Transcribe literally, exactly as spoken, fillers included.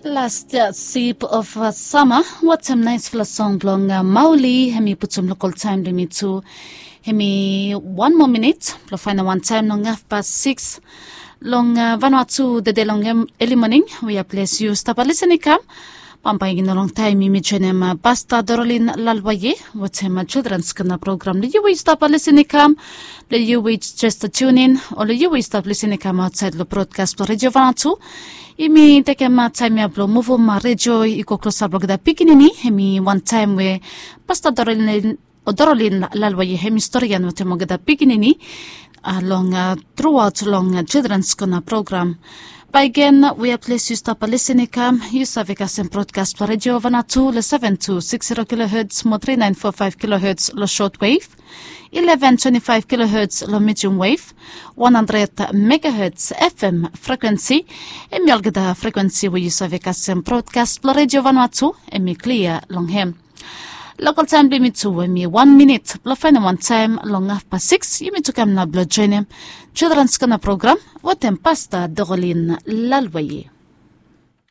Last sip of sama watem naispela song blong mauli, hem i putum lokal taem blong yumi tu. Hem i wan moa minit blong faenem wan taem long hafpas siks long vanua tu dede long eli moning. Wi a ples yu stap lisin i kam. Bambae i no long taem yumi joenem pasta dorolin lalwaye watem childrens kona program long yu we yu stap lisin i kam, long yu we jes tunin o long yu we yu stap lisin i kam aotsaed long brodkas blong redio vanua tu. Yumi tekem taem ya blong muvum redio i go klosap long olgeta pikinini. Hem i wan taem we pasta dorolin lalwaye hem i storian watem olgeta pikinini long truaot long childrens kona program. Bae gen, we a ples yu stap lisin i kam, yu save kasem brodkas blong redio vanua tu long seven two six zero kiloherts mo three nine four five kiloherts long short wave, eleven twenty five kiloherts long medium wave, one hundred megaherts fm frekuensi. Hem i olgeta frekuensi we yu save kasem brodkas blong redio vanua tu. Hem i klia long hem. Lokal taem blong yumi tu hem i wan minit blong faenem wan taem long hafpas siks. Yumi tu kam nao blong joenem childrens kona program watem pasta dorolin lalwaye.